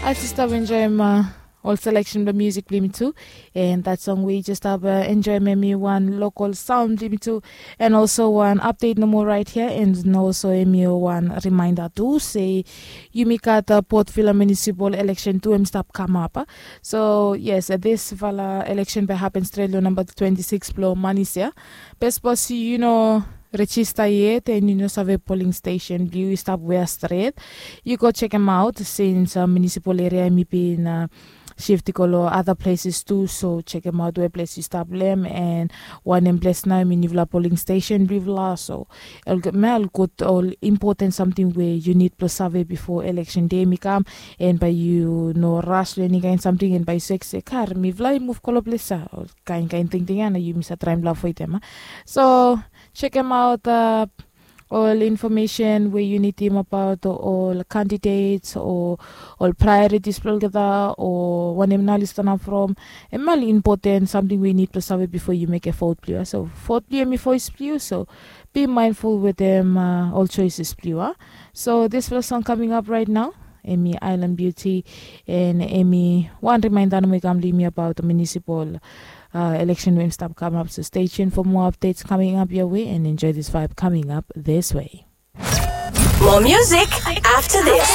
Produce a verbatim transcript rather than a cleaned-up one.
As yu stap enjoim ol selection blong musik blong yumi tu, and that song we yu just stap enjoim em i wan local sound blong yumi tu, and also wan update nomo right here, and also em i wan reminder tu se yumi gat Port Vila Municipal election tu em stap kamap. So yes, disfala election bai happen stret long namba twenty six blong manis ya. Be sapos yu no rejista yet and yu no save polling station blong yu i stap wea stret, yu go chekem aut since municipal area em i bin shift i go long other places tu. So chekem aut we ples yu stap long em, and wanem ples nao em i nifala polling station blong yufala. So me ol gud ol important samting we yu nid blong save bifo election day em i kam, and bai yu no ras long eni kain samting and bai yu sek se kar mifala i muv go long ples ya, ol kain kain tingting ya na yumi sa traem blong avoidem. So chekem aut ol infomesen we yu nidim abaot ol candidates o ol priorities blong olgeta o wanem nao oli stanap from. Em ol important samting we yu nid blong save bifo yu mekem vot blong yu. So vot blong yu em i voes blong yu, so be mindful wetem ol choices blong yu. So disfala song kaming ap right nao em i Island Beauty, and em i wan reminder nomo i kam long yumi abaot municipal election we em stap kamap. So stay tuned for more updates coming up your way and enjoy this vibe coming up this way. More music after this.